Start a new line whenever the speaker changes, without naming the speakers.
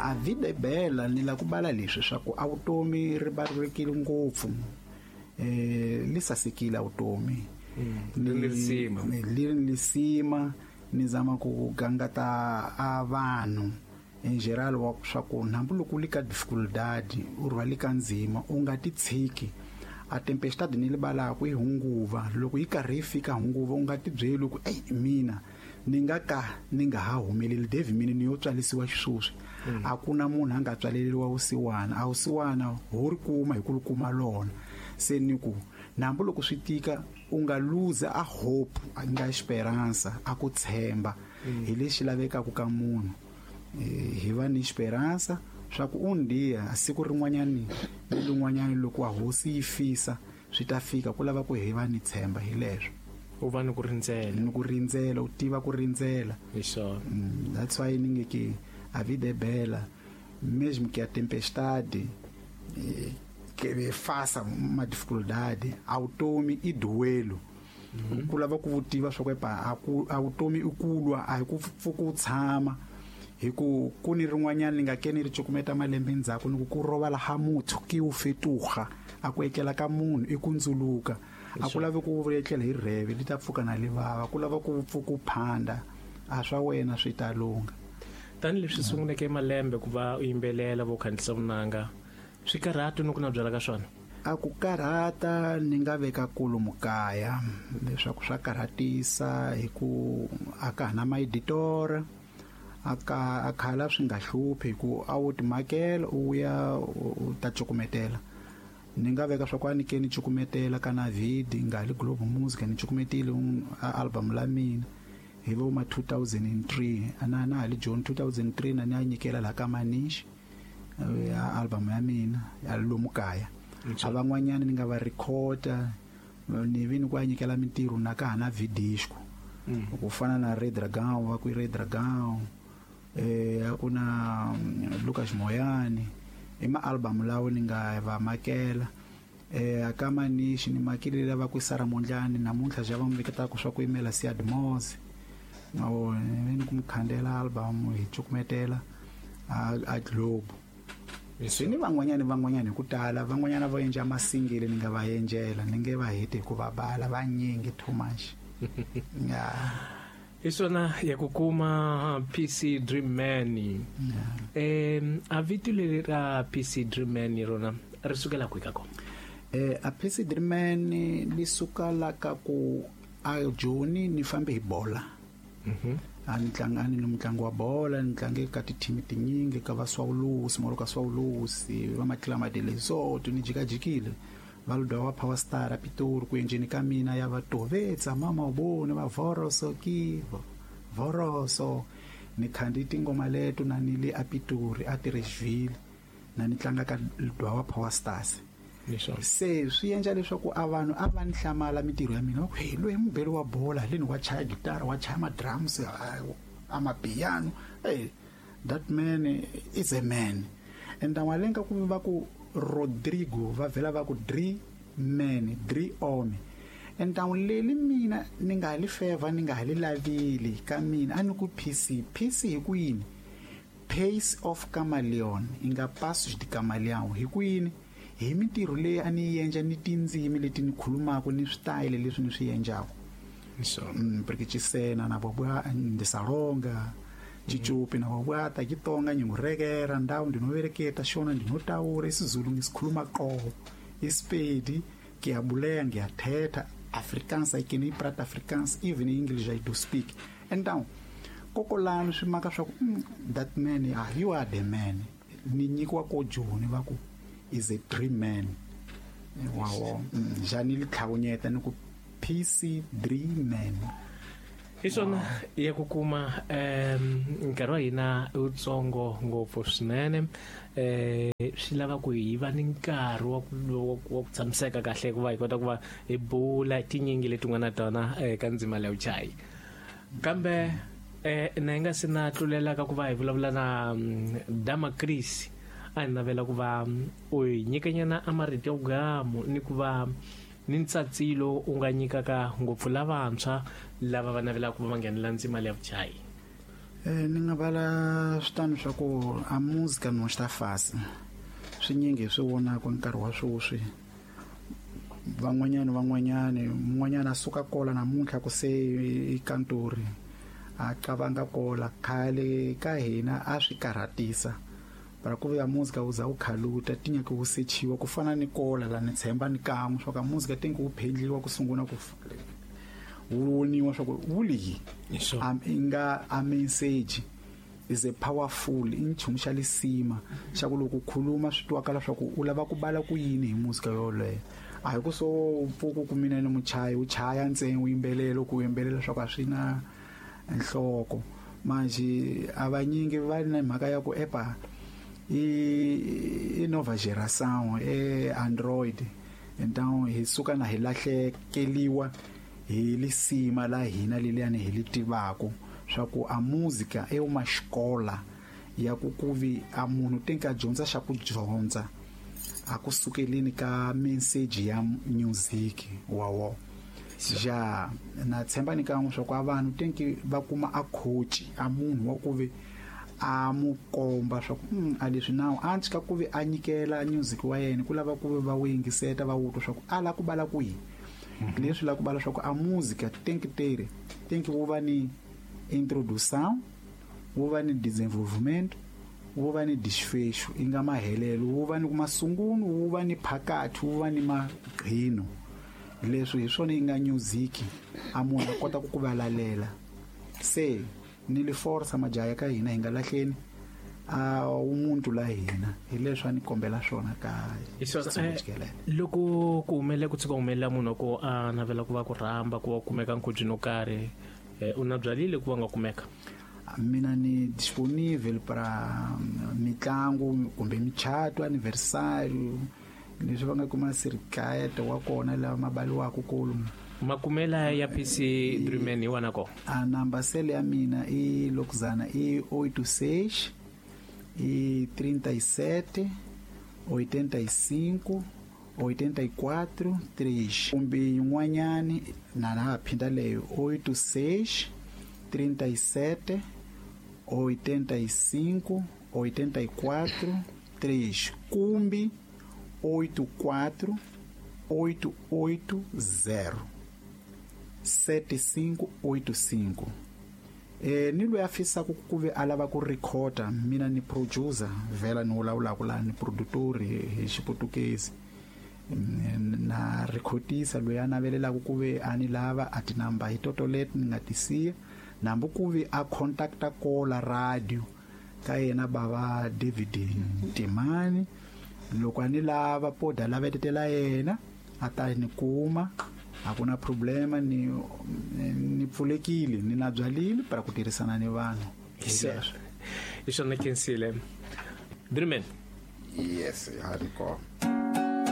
A vida e bela ni la ku bala leswi swa ku a vutomi ri balulekile ngopfu, li sasekile a vutomi.
Li risima.
Li ri lisima. Ni zama ku gangata a vanhu in general wa swa ku hambi loko u li ka dificuldade, u rhwale ka ndzima, u nga ti tshiki. A tempestade ni libalaku i hunguva, loko yi karhi yi fika hunguva u nga ti byeli ku ey mina ni nga ka ni nga ha humeleli David, mina ni yo tswalisiwa xisweswi. A ku na munhu a nga tswaleriwa vusiwana, a vusiwana ho ri kuma hi ku ri kuma lona. Se ni ku nambu loko swi tika u nga lose a hope, a nga esperanza, a ku tshemba. Hi lexi lavekaka ka munhu. Hi va ni esperanza swa ku un dia siku rin'wanyani ni rin'wanyani loko a hosi yi fisa swi ta fika, ku lava ku hi va ni tshemba hi leswo.
U va ni ku rindzela.
Ni ku rindzela, u tiva ku rindzela.
Hi swona.
That's why ni nge ke a vida é bela, mesmo que a tempestade, que faça uma dificuldade, a vutomi i duelo. Ku lava ku tiva swa ku epa, a ku, a vutomi i ku lwa, a hi ku pfuka u tshama. Hi ku ku ni rin'wanyana ni nga ke ni ri cukumeta malembe ndzhaku, ni ku ku rovala ha muthu ki u fetuga, a ku etlela ka munhu i ku ndzuluka. A ku lavi ku etlela hi rheve li ta pfuka na li vava, ku lava ku pfuka u phanda, a swa wena swi ta lungha.
Tanihileswi sunguleke malembe ku va u yimbelela vo khandziyisa vunanga, swi karhata ni ku na byala ka swona?
A ku karhata ni nga veka kulu mukaya leswaku swa karhatisa hi ku a ka ha na maeditora, a ka a khala swi nga hluphi hi ku a wu timakela u ya u ta cukumetela. Ni nga veka swa ku a ni ke ni cukumetela ka na vidi nga li Globe Music, ni cukumetile a album la mina hi vo ma 2003, ana na ha li June 2003 na ni a nyikela la ka Manish ya album ya mina ya lomu kaya. A van'wanyana ni nga va recorda, ni vi ni ku a nyikela mintirho na ka ha na vidisco. Ku fana na Red Dragon, va ku i Red Dragon, a ku na Lucas Moyani, i ma album lawo ni nga va makela. A ka Manish ni makile lava ku Sara Mondlani, namuntlha ja va mi veketaka swa ku yimela Siad Moz. O, ni ku mi khandela album hi cukumetela a Globe. Se ni van'wanyani, van'wanyani hi ku tala, van'wanyana va endla masingile ni nga va endlela, ni nge va heti hi ku va bala, vanyingi too much. Yeah.
Hi swona ya ku kuma PC Dream Man. A vito leri ra PC Dream Man rona ri sukela kwihi ka kona?
A PC Dream Man li suka la ka ku a Joni ni fambe hi bola. A ni tlanga, a ni ni mutlangi wa bola, ni tlange ka ti-team tinyingi, ka va Swawulusi, Moroka Swawulusi, va Matlama de Lesotho, ni jikajikile. Va Ludwa wa Power Star a Pitori, ku endleni ka mina ya va Tovetsa, mama u vone, va Voroso ki Voroso. Ni khandi tingoma leto na ni le a Pitori, a Tireshville, na ni tlanga ka Ludwa wa Power Stars.
Leswaku.
Se swi endla leswaku a vanhu a va ni hlamala mintirho ya mina, va ku, hey, loyi mubeli wa bola, leni wa chaya gitara, wa chaya ma-drums, a mapiano. Hey, that man is a man. And malenga ku va ku Rodrigo, va vhela va ku Dri Man, Dri Ome. And leli mina ni nga li favor, ni nga li lavili ka mina, a ni ku PC. PC hi ku yini? Pace of Chameleon, inga Passos de Camaleão. Hi ku yini? Hi mintirho leyi a ni yi endla ni tindzimi leti ni khulumaka ni switayele leswi ni swi endlaka. Porque Chisena na vobwa Ndisalonga, Chichupi na vobwa ta Kitonga, Nyingurekera, Ndau ndinovereketa, Shona ndinotaura, isiZulu ngisikhuluma qobo, iSpedi ngiyabuleya, ngiyathetha, Afrikaans I can prat Afrikaans, even English I do speak. And now kokolani swi maka swa ku, that man, you are the man. Ni nyikiwa ko Joni va ku is a dream man. Wow. Njhani li tlhawunyeta ni ku PC Dream Man.
Hi swona ya ku kuma, nkarhi wa hina i wutsongo ngopfu swinene. Swi lava ku hi va ni nkarhi wa ku tshamiseka kahle ku va hi kota ku va hi bula tinyingi leti nga na tona ka ndzima leyi vuchayi. Kambe na hi nga se na tlulela ka ku va hi vulavula na Dama Chris, a hi navela ku va u hi nyikanyana a marito ya vugamu ni ku va ni ntsatsilo u nga nyikaka ngopfu lavantshwa lava va navelaka ku va va nghenela ndzima leyi ya vuchayi.
Ni nga vala switano swa ku a música não está fácil. Swinyingi hi swi vonaka nkarhi wa sweswi. Van'wanyana mun'wanyana a suka kola namuntlha ku se i kantori a qavanga kola khale ka hina a swi karhatisa para ku vuya música wu za wu khaluta ti nyaka wu sechiwa ku fana ni kola la ni tshemba ni kan'we swa ka música ti wu phendliwa ku sungula ku wu voniwa swa ku wu liyi i nga a message is a powerful i nchumu xa lisima xa ku loko khuluma swi twakala swa ku u lava ku bala ku yini hi música yoleyo. A hi ku so pfuku ku mina ni muchayi u chaya ntsena u yimbelela ku yimbelela swa ku a swi na nhloko. Manje a vanyingi va na mhaka ya ku epa i nova geração e Android, então hi suka na hi lahlekeliwa hi lisima la hina leliyani hi li tivaku swa ku a música é uma escola ya ku kuvi a munhu tem que dyondza xa ku dyondza a ku sukeleni ka message ya music wa wo. Ja na tshemba ni kan'we swa ku a vanhu tem que va kuma a coach a munhu wa ku vi a mu komba swa ku a leswi nawu a ntshi ka ku vi a nyikela music wa yena ku lava ku vi va wu yingiseta va wu twa swa ku a la ku bala ku yini. Leswi la ku bala swa ku a música tem que ter tem que wu va ni introdução, wu va ni desenvolvimento, wu va ni desfecho i nga mahelelo, wu va ni masungulo, wu va ni phakathi, wu va ni magqino. Leswi hi swona yi nga music a munhu a kota ku ku valalela. Se ni li forsa majaha ka hina hi nga lahleni a umuntu la hina hi leswi a ni kombela swona ka
loko ku humelela ku tshuka humelela munhu ku a navela ku va ku rhamba ku va kumeka nkhubyini wo karhi, u na byalile ku va nga kumeka?
Mina ni disponível para mitlangu kumbe michato, aniversário, leswi va nga kuma sirikayete wa kona lawa ma baliwaka kulu.
Makumela ya PC Dreamman hi wana ko?
A number cell ya mina i lokuzana i 86 i 37 85 84 3 kumbe yin'wanyani na ha phinda leyo 86 37 85 84 3 kumbe 84 880 7585. Ni loyi a fisaka ku ve a lava ku recorda, mina ni producer vhela ni vulavulaka la ni produtor hi Xiputukezi na recordisa loyi a navelelaka ku ve a ni lava a tinamba hi toto leti ni nga ti siya nambu ku ve a contacta kola radio ka yena bava David Timani. Loko a ni lava poda lavetetela yena a ta ni kuma, a ku na problema, ni pfulekile ni na byalile para ku tirhisana ni vanhu.
Hi swona khensile. Dreamman.
Yes, ha ni kona.